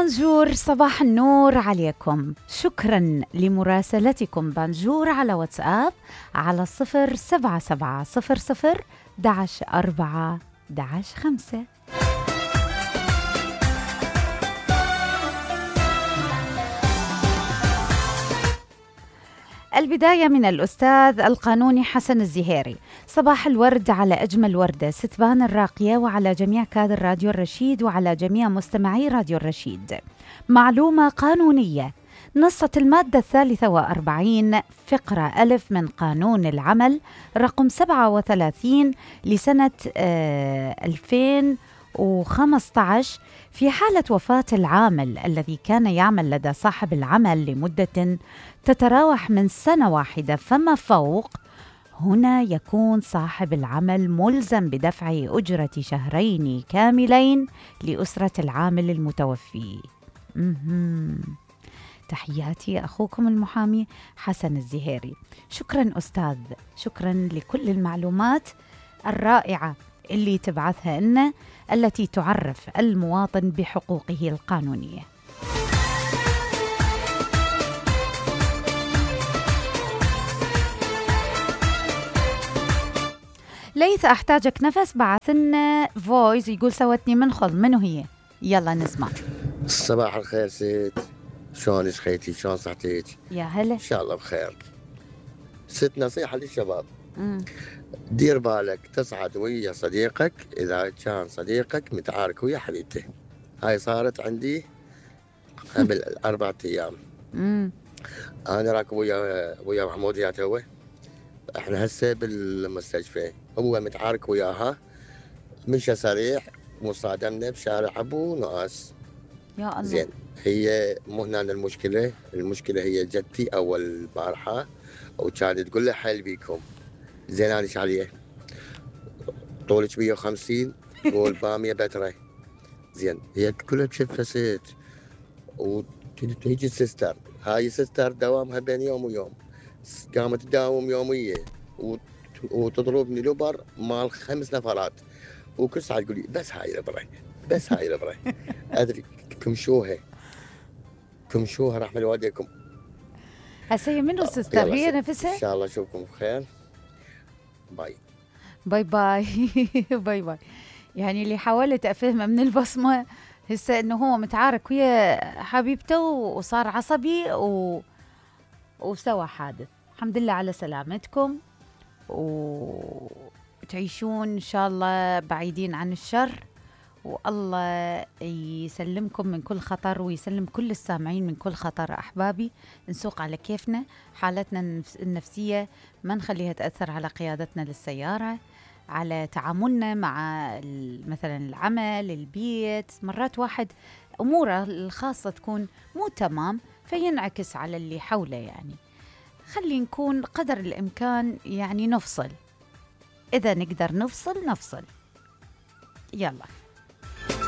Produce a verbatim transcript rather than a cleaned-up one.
بونجور، صباح النور عليكم. شكرا لمراسلتكم بانجور على واتساب على صفر سبعة سبعة صفر صفر دعش أربعة دعش خمسة. البداية من الأستاذ القانوني حسن الزهيري. صباح الورد على أجمل وردة ستبان الراقية، وعلى جميع كادر راديو الرشيد، وعلى جميع مستمعي راديو الرشيد. معلومة قانونية: نصت المادة الثالثة وأربعين فقرة ألف من قانون العمل رقم سبعة وثلاثين لسنة آه ألفين وخمسة عشر في حالة وفاة العامل الذي كان يعمل لدى صاحب العمل لمدة تتراوح من سنة واحدة فما فوق، هنا يكون صاحب العمل ملزم بدفع أجرة شهرين كاملين لأسرة العامل المتوفي. مهم. تحياتي أخوكم المحامي حسن الزهيري. شكرا أستاذ، شكرا لكل المعلومات الرائعة اللي تبعثها لنا، التي تعرف المواطن بحقوقه القانونية. ليث أحتاجك نفس بعث لنا فويس يقول سوتني منخل. منو هي؟ يلا نسمع. صباح الخير ست، شلونك خيتي؟ شلون صحتك؟ يا هلا، ان شاء الله بخير. ست نصيحة للشباب: مم. دير بالك تصعد ويا صديقك إذا كان صديقك متعارك ويا حبيبته. هاي صارت عندي قبل أربعة أيام. مم. أنا راكب ويا ويا محمود يا توه، احنا هسه بالمستشفى، هو متعارك وياها، مشى سريع وصادمنا بشارع أبو ناس. يا الله. زين، هي مو هنا المشكلة، المشكلة هي جدتي أول البارحة وكانت تقول له حل بيكم. زين أنا ايش عليه؟ طولك مية وخمسين والبامية بترة. زين، هي كلها بشفة ست، وتيجي السستر، هاي السستر دوامها بين يوم ويوم، قامت تداوم يومية وتضربني لبر مال خمس نفرات، وكل ساعة تقول لي بس هاي الابرة، بس هاي الابرة. ادري كمشوها كمشوها رحمة والديكم. هسه هي منو السستر؟ هي نفسها؟ ان شاء الله اشوفكم بخير. باي باي باي. باي باي. يعني اللي حاولت افهمه من البصمة هسه انه هو متعارك ويا حبيبته وصار عصبي و... وسوى حادث. الحمد لله على سلامتكم، وتعيشون إن شاء الله بعيدين عن الشر، والله يسلمكم من كل خطر ويسلم كل السامعين من كل خطر. أحبابي، نسوق على كيفنا، حالتنا النفسية ما نخليها تأثر على قيادتنا للسيارة، على تعاملنا مع مثلا العمل، البيت. مرات واحد أموره الخاصة تكون مو تمام فينعكس على اللي حوله. يعني خلي نكون قدر الإمكان يعني نفصل، إذا نقدر نفصل نفصل. يلا.